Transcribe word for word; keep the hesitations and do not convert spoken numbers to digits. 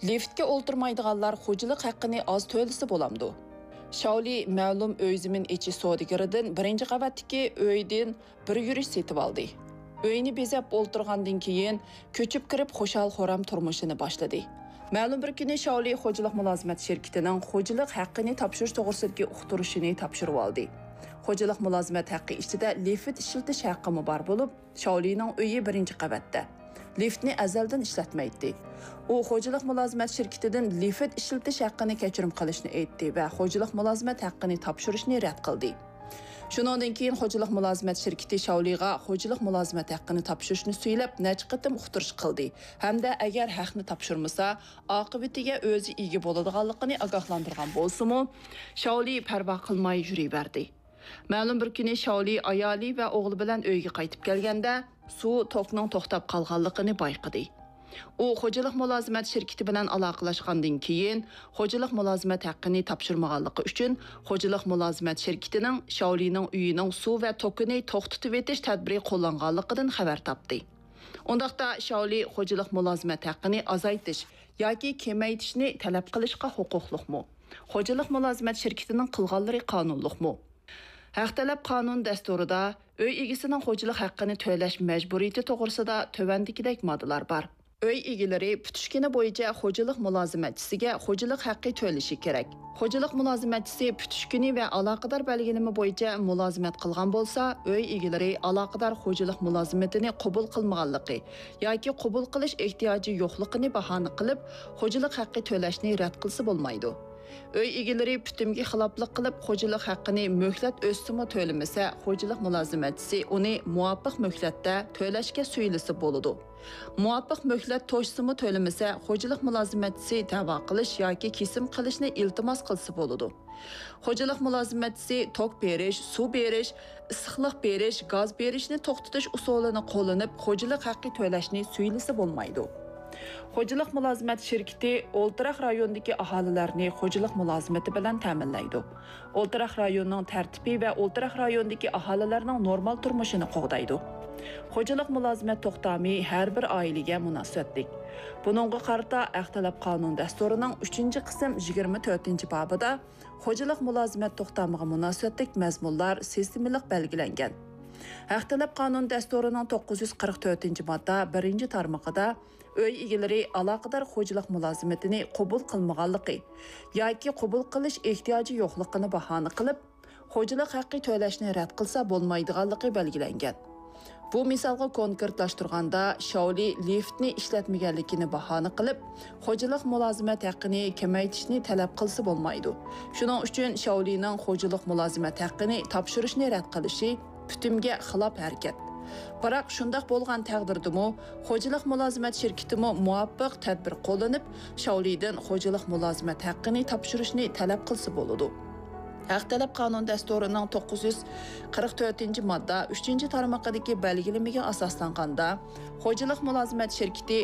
لىفتكە ئولتۇرمايدىغانلار خوجىلىق ھەققىنى ئاز تۆلىسە بولامدۇ؟ شاۋلى مەلۇم ئۆي زېمىن ئېچىش سودىگىرىدىن بىرىنچى قەۋەتتىكى ئۆيدىن بىر يۈرۈش سېتىۋالدى. ئۆينى بېزەپ ئولتۇرغاندىن كېيىن، كۆچۈپ كىرىپ خۇشال-خۇرام تۇرمۇشىنى باشلىدى. مەلۇم بىر كۈنى شاۋلى خوجىلىق مۇلازىمەت شىركىتىنىڭ خوجىلىق ھەققىنى تاپشۇرۇش توغرىسىدىكى ئۇقتۇرۇشىنى تاپشۇرۇۋالدى. خوجىلىق مۇلازىمەت ھەققى ئىچىدە لىفت ئىشلىتىش ھەققىمۇ بار بولۇپ، شاۋلىنىڭ ئۆيى بىرىنچى قەۋەتتە. لىفتنى ئەزەلدىن ئىشلەتمەيتتى. ئۇ خوجىلىق مۇلازىمەت شىركىتىدىن لىفت ئىشلىتىش ھەققىنى كەچۈرۈم قىلىشنى ئېيتتى ۋە خوجىلىق مۇلازىمەت ھەققىنى تاپشۇرۇشنى رەت قىلدى. شۇنىڭدىن كېيىن خوجىلىق مۇلازىمەت شىركىتى شاۋلىغا خوجىلىق مۇلازىمەت ھەققىنى تاپشۇرۇشنى سۈيلەپ نەچچە قېتىم ئۇقتۇرۇش قىلدى ھەمدە ئەگەر ھەقنى تاپشۇرمىسا، ئاقىۋىتىگە ئۆزى ئىگە بولىدىغانلىقىنى ئاگاھلاندۇرغان بولسىمۇ، شاۋلى پەرۋا قىلماي يۈرۈۋەردى. مەلۇم بىر كۈنى شاۋلى ئايالى ۋە ئوغلى بىلەن ئۆيگە قايتىپ كەلگەندە، سۇ توكنىڭ توختاپ قالغانلىقىنى بايقىدى. ئۇ خوجىلىق مۇلازىمەت شىركىتى بىلەن ئالاقىلاشقاندىن كېيىن، خوجىلىق مۇلازىمەت ھەققىنى تاپشۇرمىغانلىقى ئۈچۈن، خوجىلىق مۇلازىمەت شىركىتىنىڭ شاۋلىنىڭ ئۆيىنىڭ سۇ ۋە توكىنى توختىتىۋېتىش تەدبىرى قوللانغانلىقىدىن خەۋەر تاپتى. ئۇنداقتا شاۋلى خوجىلىق مۇلازىمەت ھەققىنى ئازايتىش ياكى كېمەيتىشنى تەلەپ قىلىشقا ھوقۇقلۇقمۇ؟ خوجىلىق مۇلازىمەت شىركىتىنىڭ قىلغانلىرى قانۇنلۇقمۇ؟ ھەق تەلەپ قانۇن دەستۇرىدا ئۆي ئىگىسىنىڭ خوجىلىق ھەققىنى تۆلەش مەجبۇرىيىتى توغرىسىدا تۆۋەندىكىدەك ماددىلار بار. ئۆي ئىگىلىرى پۈتۈش كۈنى بويىچە خوجىلىق مۇلازىمەتچىسىگە خوجىلىق ھەققى تۆلىشى كېرەك. خوجىلىق مۇلازىمەتچىسى پۈتۈش كۈنى ۋە ئالاقىدار بەلگىلىمە بويىچە مۇلازىمەت قىلغان بولسا، ئۆي ئىگىلىرى ئالاقىدار خوجىلىق مۇلازىمىتىنى قوبۇل قىلمىغانلىقى ياكى قوبۇل قىلىش ئېھتىياجى يوقلۇقىنى باھانە قىلىپ، خوجىلىق ھەققى تۆلەشنى رەت قىلسا بولمايدۇ. ئۆي ئىگىلىرى پۈتۈمگە خىلاپلىق قىلىپ، خوجىلىق ھەققىنى مۆھلەت ئۆتسىمۇ تۆلىمىسە، خوجىلىق مۇلازىمەتچىسى ئۇنى مۇۋاپىق مۆھلەتتە تۆلەشكە سۈيلىسە بولىدۇ. مۇۋاپىق مۆھلەت توشسىمۇ تۆلىمىسە، خوجىلىق مۇلازىمەتچىسى دەۋا قىلىش ياكى كېسىم قىلىشنى ئىلتىماس قىلسا بولىدۇ. خوجىلىق مۇلازىمەتچىسى توك بېرىش، سۇ بېرىش، ئىسسىقلىق بېرىش، گاز بېرىشنى توختىتىش ئۇسۇلىنى قوللىنىپ، خوجىلىق ھەققى تۆلەشنى سۈيلىسە بولمايدۇ. خوجىلىق مۇلازىمەت شىركىتى ئولتۇراق رايوندىكى ئاھالىلەرنى خوجىلىق مۇلازىمىتى بىلەن تەمىنلەيدۇ. ئولتۇراق رايوننىڭ تەرتىپى ۋە ئولتۇراق رايوندىكى ئاھالىلەرنىڭ نورمال تۇرمۇشىنى قوغدايدۇ. خوجىلىق مۇلازىمەت توختامى ھەر بىر ئائىلىگە مۇناسىۋەتلىك. بۇنىڭغا قارىتا ھەق تەلەپ قانۇن دەستۇرىنىڭ ئۈچىنچى قىسىم يىگىرمە تۆتىنچى بابىدا خوجىلىق مۇلازىمەت توختامىغا مۇناسىۋەتلىك مەزمۇنلار سىستېمىلىق بەلگىلەنگەن. ھەق تەلەپ قانۇن دەستۇرىنىڭ توققۇز يۈز قىرىق تۆتىنچى ماددا بىرىنچى تارمىقىدا ئۆي ئىگىلىرى ئالاقىدار خوجىلىق مۇلازىمىتىنى قوبۇل قىلمىغانلىقى ياكى قوبۇل قىلىش ئېھتىياجى يوقلۇقىنى باھانە قىلىپ، خوجىلىق ھەققى تۆلەشنى رەت قىلسا بولمايدىغانلىقى بەلگىلەنگەن. بۇ مىسالغا كونكرېتلاشتۇرغاندا، شاۋلى لىفتنى ئىشلەتمىگەنلىكىنى باھانە قىلىپ، خوجىلىق مۇلازىمەت ھەققىنى كېمەيتىشنى تەلەپ قىلسا بولمايدۇ. شۇنىڭ ئۈچۈن شاۋلىنىڭ خوجىلىق مۇلازىمەت ھەققىنى تاپشۇرۇشنى رەت قىلىشى پۈتۈمگە خىلاپ ھەرىكەت. بىراق، شۇنداق بولغان تەقدىردىمۇ، خوجىلىق مۇلازىمەت شىركىتىمۇ مۇۋاپىق تەدبىر قوللىنىپ، شاۋلىدىن خوجىلىق مۇلازىمەت ھەققىنى تاپشۇرۇشنى تەلەپ قىلسا بولىدۇ. ھەق تەلەپ قانۇن دەستۇرىنىڭ توققۇز يۈز قىرىق تۆتىنچى ماددا ئۈچىنچى تارمىقىدىكى بەلگىلىمىگە ئاساسلانغاندا، خوجىلىق مۇلازىمەت شىركىتى